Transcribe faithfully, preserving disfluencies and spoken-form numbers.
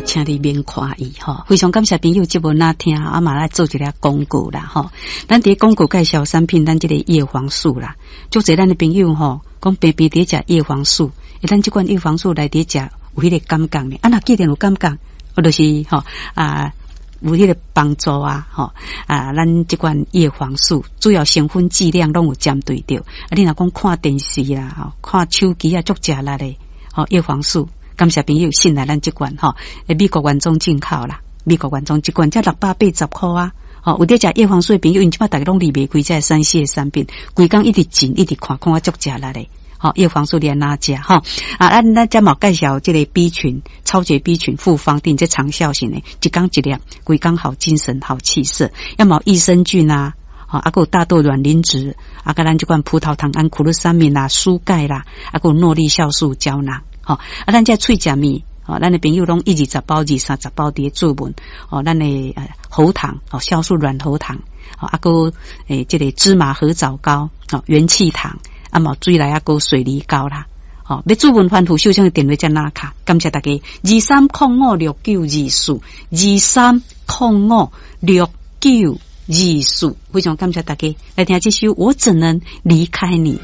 吼，請你免看伊吼。非常感謝朋友節目若聽，啊嘛來做一个廣告啦吼。咱佇廣告介紹產品，咱這个葉黃素啦，足濟咱的朋友吼，講平平佇食葉黃素，欸，咱這款葉黃素來佇食有彼個感覺呢？啊，若既然有感覺，我就是吼啊。有彼個幫助啊，吼啊，咱這款葉黃素主要成分劑量攏有針對著。啊，你若講看電視啦，吼，看手機啊，足食力的，吼，葉黃素，感謝朋友信賴咱這款吼，美國原裝進口啦，美國原裝這款才六百八十箍啊，吼，有佇食葉黃素的朋友，𪜶這擺逐家攏離袂開這个三 C 的產品，規工一直進，一直看，看啊足食力的。吼，葉黃素你按怎食吼？啊，咱咱遮嘛介紹這個 B 群，超級 B 群複方錠，這長效型的，一工一粒，規工好精神、好氣色。抑嘛益生菌啊，吼，啊，閣有大豆卵磷脂，啊，佮咱這款葡萄糖胺、苦鲁三敏啦、舒鈣啦，啊，閣有諾麗酵素膠囊，吼，啊，咱這喙食物，吼，咱的朋友攏一二十包、二三十包佇咧注文，吼，咱的喉糖，哦，酵素軟喉糖，吼，啊，閣欸，這個芝麻褐藻膏，吼，元氣糖。啊，嘛水內啊，閣水梨膏啦，吼，欲諮詢番號，手中的電話才拿卡，感謝大家，二三空五六九二四，二三空五六九二四，非常感謝大家來聽這首《我怎能離開你》。